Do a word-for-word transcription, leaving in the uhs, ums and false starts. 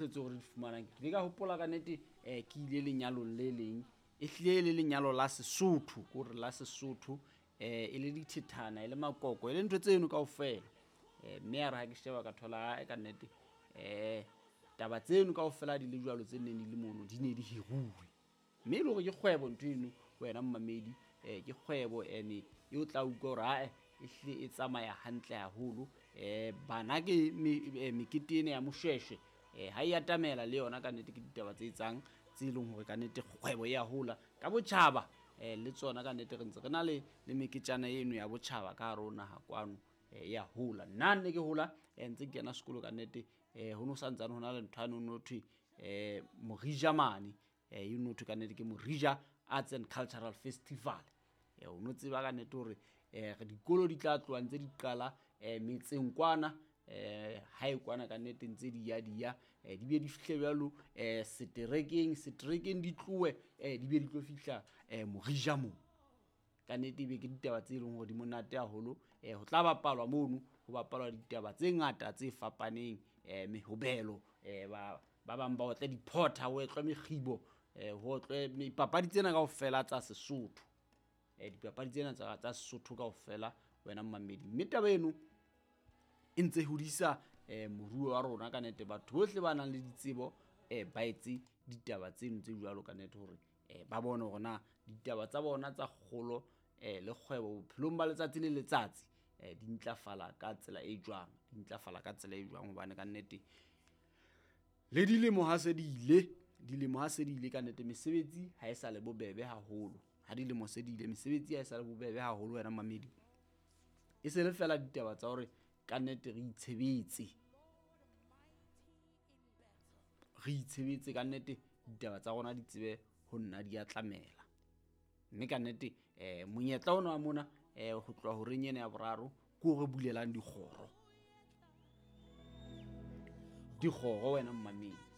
Tseo re di fumanang, ke ile ka hopola ka nnete um ke ile lenyalong le leng, e hlile e le lenyalo la Sesotho, ke hore la Sesotho, um e le dithethana, e le makoko, e le ntho tseno kaofela. um Mme ya re ha ke sheba ka thola ae ka nnete um taba tseno kaofela di le jwalo tse neng di le mono di ne di hiruwe, mme e le hore ke kgwebo ntho eno wena mmamedi. um Ke kgwebo ene e o tla utlwa hore ae e hlile e tsamaya hantle haholo. um Bana ke mekete ena ya moshweshwe um ha e atamela le yona ka nnete ke ditaba tse etsang tse leng hore ka nnete kgwebo e ya hola ka botjhaba. um Le tsona ka nnete re ntse re na le le meketjana eno ya botjhaba ka hare ho naha kwano, e ya hola. Nna ne ke hola ntse ke kena sekolo ka nnete, um ho no santsane ho na le ntho yane ho no thwe um Morija mane, e no thwe ka nnete ke Morija Arts and Cultural Festival. O no tseba ka nnete hore um dikolo di tla tloha ntse di qala um metseng kwana, um hae kwana ka nnete ntse di ya di ya, di be di fihle jwalo um seterekeng, seterekeng di tlohe um di be di tlo fihla um Morija moo. Ka nnete ebe ke ditaba tse leng hore di monate haholo. um Ho tla bapalwa mono, ho bapalwa ditaba tse ngata tse fapaneng, um mehobelo, um ba ba bang ba otle diphotha, ho otlwe mekgibo, um ho otlwe dipapadi tsena kaofela tsa Sesotho. um Dipapadi tsena tsa tsa Sesotho kaofela wena mmamedi. Mme taba eno e ntse hodisa um moruo wa rona ka nnete. Batho bohle ba nang le ditsebo um ba etse ditaba tseno tse jwalo ka nnete hore um ba bone hore na ditaba tsa bona tsa kgolo um le kgwebo bophelong ba letsatsi le letsatsi um di ntlafala ka tsela e jwang, di ntlafala ka tsela e jwang. Hobane ka nnete le dilemo ha se di ile, dilemo ha se di ile ka nnete mesebetsi ha e sa le bobebe haholo. Ha dilemo se di ile mesebetsi ha e sa le bobebe haholo wena mamedi. E se le fela ditaba tsa hore ka nnete re itshebetse, re itshebetse ka nnete ditaba tsa rona di tsebe ho nna di atlamela. Mme ka nnete um monyetla ona wa mona um ho tloha horeng ena ya boraro ke o re bulelang dikgoro, dikgoro wena mmamedi.